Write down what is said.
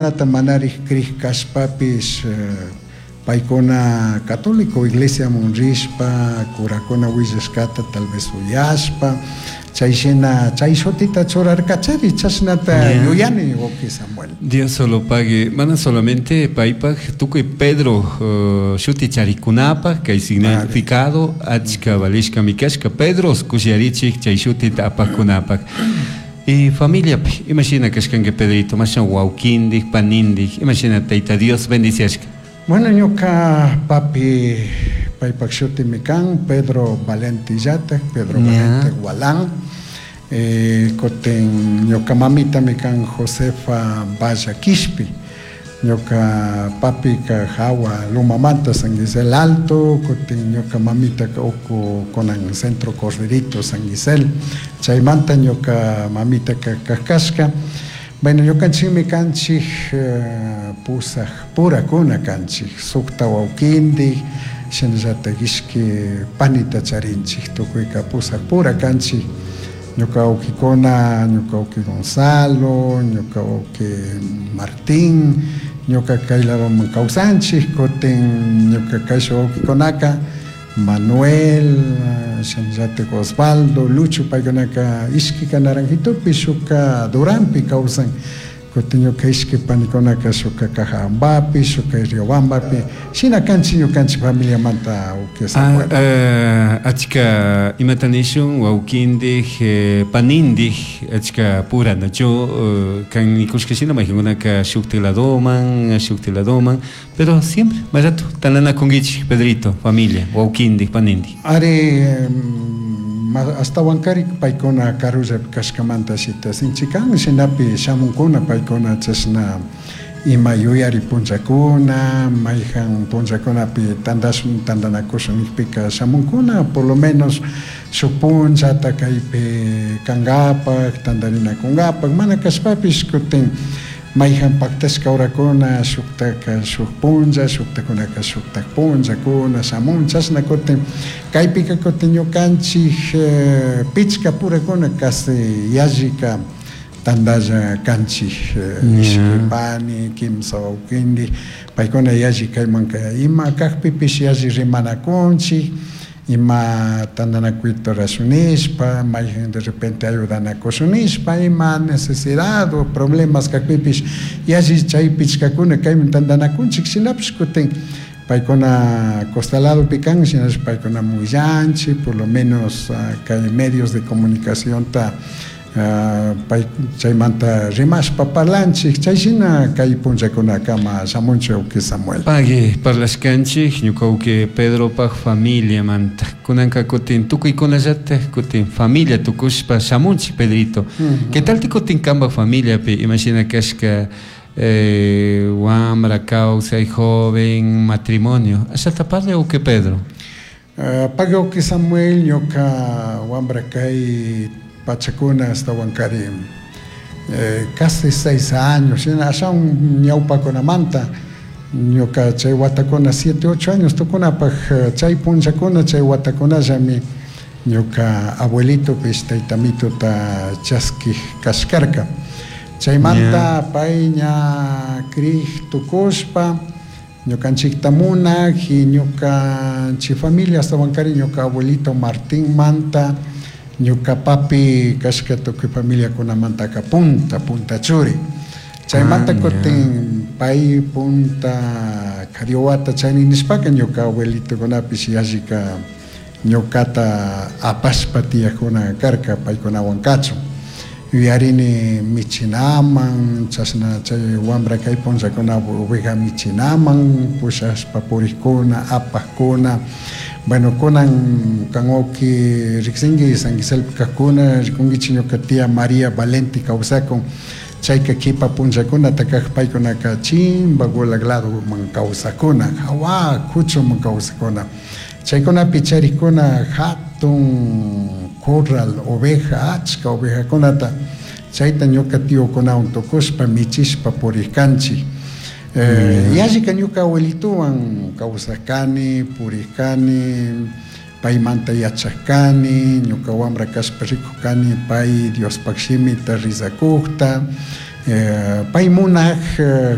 Nata manarij crij cashpapish paicuna católico iglesiaman rishpa curacuna huillashcata tal vez uyashpa chay shina chay shutita churarcachari, chashnata yuyani, wauqui Samuel. Dios solo pague, mana solamente paypaj, tukuy Pedro shuti charikkunapaj kay significado achka valishkami kashka. Pedros kushiyarichik chay shutita apajkunapaj. Y familiapi imashina kashkanki, Pedrito? Mashna wawkindik, panindik, imashina Tayta Dios bendiciashka? Bueno, ñuka papi paypak shutimi kan Pedro Valente llatak, Pedro Valente Gualán. Kutin ñuka mamitami kan Josefa Valla Quishpi. Ñuka papika hawa Lumamanta, San Gisel Alto, kutin ñuka mamitaka uku kunan Centro Corderito, San Gisel. Chaymanta ñuka mamitaka kashka. Bueno, ñukanchikmi kanchik pusaj purakuna kanchik, sukta wawkindik, shinallatak ishki panita charinchik, tukuyka pusaj pura kanchik. Ñuka wawkikuna, ñuka wawki Gonzalo, ñuka wawki Martín, ñuka kay ladoman kawsanchik, kutin ñuka kayshuk wawkikunaka Manuel, shinallatak Osvaldo, Lucho, paykunaka ishkika Naranjitopi, shukka Duranpi kawsan. Kutin ñuka ishki panikunaka shukka Cajabambapi, shukka Riobambapi, shina kanchik ñukanchik familiamanta, wawki Samuel. Achka imata nishun wawkindik, panindik achka pura nachu kan nikushka shina maykankunaka shukti ladoman, shukti ladoman, pero siempre más rato tandanakunkichik, Pedrito, familia, wawkindik, panindik. Ari, ashtawankari paykuna karullapi kashkamanta shita sinchi kan, shinapi shamunkuna paykuna chashna ima yuyari punllakuna, mayjan punllakunapi tandashun, tandanakushun nikpika shamunkuna, por lo menos shuk punllata kaypi kankapak, tandarinakunkapak, mana kashpapish kutin mayjan paktashka horakuna shuktaka shuk punlla, shuktakunaka shuktak punllakuna shamun, chashna kutin kaypika kutin ñukanchik pichka purakuna casi yallika tandalla kanchik, ishki pani, kimsa wawkindik, paykuna yalli kaymanka ima kakpipish yalli rimanakunchik, ima tandanakuyta rurashun nishpa, mayjan de repente ayudanakushun nishpa, ima necesidad o problemas kakpipish yalli chay pichkakuna kayman tandanakunchik, shinapish kutin paykuna costa ladopi kan, shinapish paykunaman willanchik, por lo menos kay medios de comunicacionta pay chaymanta rimashpa parlanchik, chay shina kay punllakunakama shamunchik, wawki Samuel. Pagui parlashkanchik ñuka wawki Pedropaj familiamanta. Kunanka kutin tukuykunallatak kutin familia tukushpa shamunchik, Pedrito. ¿Qué tal kutin kanpak familiapi imashina kashka wambra kawsay, joven, matrimonio? Ashata parle, wawki Pedro. Pagui, wawki Samuel, ñuka wambra kay pachakuna ashtawankari casi 6 años, shina ashawan ñawpakunamanta ñuka chay watakuna 7, 8 años tukunapak chay punllakuna, chay watakunallami ñuka abuelitopish tayta mituta chaskik kashkarka. Chaymanta pay ña crik tukushpa ñukanchikta munak y ñukanchik familia, ashtawankari ñuka abuelito Martín manta ñuka papi kashka tukuy familiakunamantaka punta punta churi. Chaymanta kutin pay punta kari wawata chani nishpaka ñuka abuelitokunapish yallika ñukata apashpa tiyakuna karka paykunawan kachun. Yuyarini michinaman, chashna chay wambra kay punllakuna oveja michinaman pushashpa purikkuna, apakuna. Bueno, kunan kan wawki riksinki, San Giselpi kakuna rikunkichik, ñuka tía María Valenti kawsakun, chayka kipa punllakunata kak paykunaka chimba Gulag ladoman kawsakuna, jawa kuchuman kawsakuna. Chaykunapi charikuna hatun corral oveja, achka ovejakunata, chayta ñuka tiokunawan tukushpa michishpa purikanchik. Yallika ñuka abuelitowan kawsakani, purikani, paymanta yachakani, ñuka wambra kashpa rikukani pay Diospak shimita rizakukta. Pay munaj.